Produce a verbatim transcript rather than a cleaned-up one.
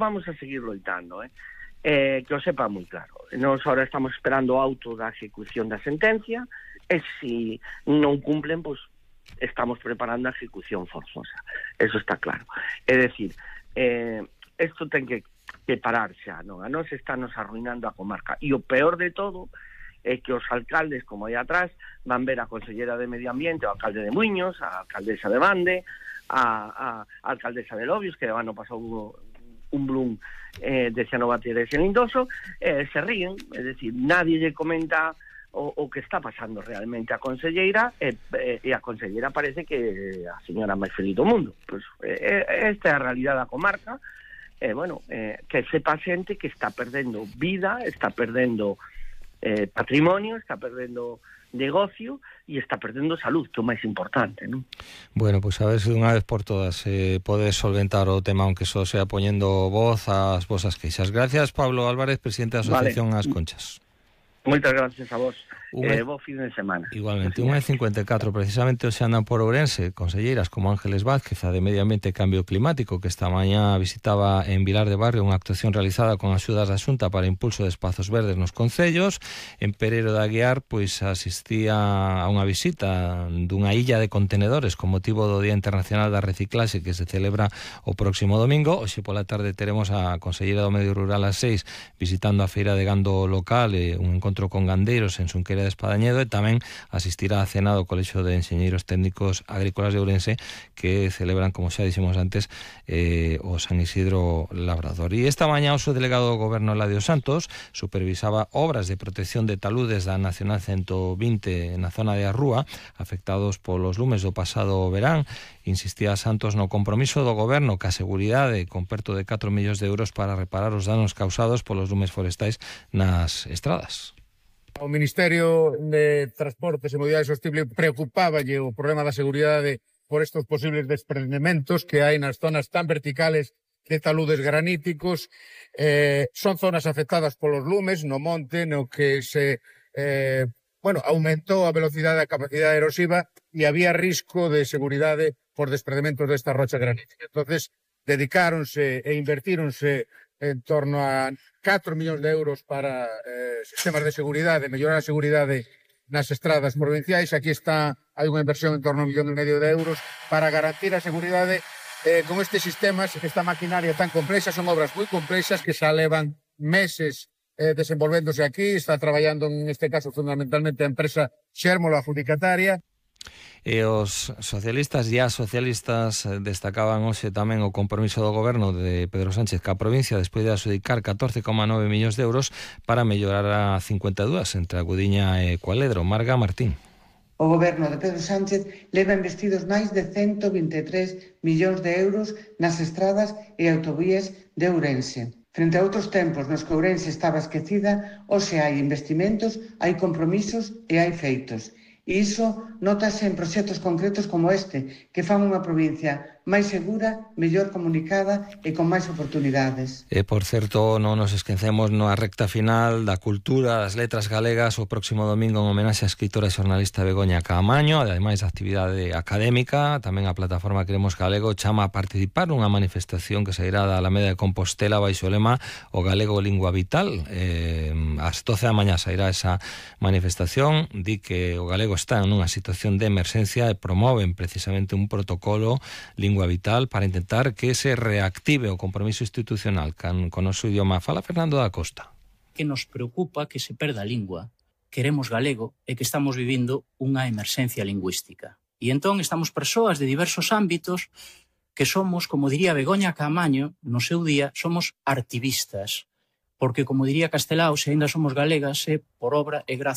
vamos a seguir loitando, eh? Eh, que o sepa moi claro. Nós ahora estamos esperando o auto da ejecución da sentencia, e se non cumplen, pois estamos preparando a ejecución forzosa. Eso está claro. É dicir, eh, isto ten que, que parar xa, non? A nós está nos arruinando a comarca. E o peor de todo é que os alcaldes, como aí atrás, van ver a consellera de Medio Ambiente, o alcalde de Muiños, a alcaldesa de Bande, a, a, a alcaldesa de Lobios, que ano pasou un, un blum eh, de cianobateres en Lindoso, eh, se ríen, é dicir, nadie lle comenta o, o que está pasando realmente a conselleira, e, e, e a conselleira parece que a señora máis feliz do mundo. Pues, eh, esta é a realidade da comarca, e, eh, bueno, eh, que sepa xente que está perdendo vida, está perdendo Eh, patrimonio, está perdendo negocio e está perdendo salud, que é o máis importante, non? Bueno, pois pues a ver se unha vez por todas eh, podes solventar o tema, aunque só sea poñendo voz ás vosas queixas. Gracias, Pablo Álvarez, presidente da Asociación vale. As Conchas. Moitas gracias a vos. Unha... Eh, bo fin de semana. Igualmente, unha e cincuenta e catro, precisamente hoxe andan por Ourense conselleiras como Ángeles Vázquez, a de Medio Ambiente e Cambio Climático, que esta mañá visitaba en Vilar de Barrio unha actuación realizada con axudas da Xunta para impulso de espazos verdes nos concellos. En Pereiro de Aguiar, pois asistía a unha visita dunha illa de contenedores con motivo do Día Internacional da Reciclaxe que se celebra o próximo domingo. Hoxe pola tarde teremos a conselleira do Medio Rural ás seis visitando a feira de gando local e un encontro con gandeiros en Xunqueira de Espadañedo, e tamén asistirá a cena do Colexio de Enxeñeiros Técnicos Agrícolas de Ourense, que celebran, como xa dixemos antes, eh, o San Isidro Labrador. E esta mañá o subdelegado do Goberno, Eladio Santos, supervisaba obras de protección de taludes da Nacional ciento vinte na zona de Arrúa, afectados polos lumes do pasado verán. Insistía Santos no compromiso do Goberno ca seguridade, con perto de catro millóns de euros para reparar os danos causados polos lumes forestais nas estradas. O Ministerio de Transportes e Mobilidade Sostible preocupáballe o problema da seguridade por estos posibles desprendementos que hai nas zonas tan verticales de taludes graníticos. Eh, son zonas afectadas polos lumes no monte, no que se eh, bueno, aumentou a velocidade e a capacidade erosiva e había risco de seguridade por desprendementos desta rocha granítica. Entonces, dedicáronse e invertíronse en torno a catro millóns de euros para eh, sistemas de seguridade, mellorar a seguridade nas estradas provinciais. Aquí está, hai unha inversión en torno a un millón e medio de euros para garantir a seguridade eh, con estes sistemas, esta maquinaria tan complexa. Son obras moi complexas que xa levan meses eh, desenvolvéndose aquí. Está traballando en este caso fundamentalmente a empresa Xérmolo, adjudicataria. E os socialistas e as socialistas destacaban hoxe tamén o compromiso do Goberno de Pedro Sánchez ca provincia despois de adxudicar catorce coma nove millóns de euros para mellorar a cincuenta e dúas entre a Gudiña e Cualedro. Marga Martín. O Goberno de Pedro Sánchez leva investidos máis de cento vinte e tres millóns de euros nas estradas e autovías de Ourense. Frente a outros tempos nos que Ourense estaba esquecida, hoxe hai investimentos, hai compromisos e hai feitos. E iso notase en proxectos concretos como este, que fan unha provincia máis segura, mellor comunicada e con máis oportunidades. E, por certo, non nos esquecemos na recta final da cultura, das letras galegas, o próximo domingo en homenaxe á escritora e xornalista Begoña Caamaño, ademais da actividade académica, tamén a plataforma Queremos Galego chama a participar nunha manifestación que sairá da Alameda de Compostela baixo o lema O Galego Lingua Vital. Eh, ás doce da mañá sairá esa manifestación, di que o galego está nunha situación de emerxencia e promoven precisamente un protocolo Lingua Vital para intentar que se reactive o compromiso institucional con, con o noso idioma. Fala Fernando da Costa. Que nos preocupa que se perda a lingua, queremos galego e que estamos vivindo unha emerxencia lingüística. E entón estamos persoas de diversos ámbitos que somos, como diría Begoña Caamaño no seu día, somos artivistas, porque como diría Castelao, se ainda somos galegas, é por obra e gracia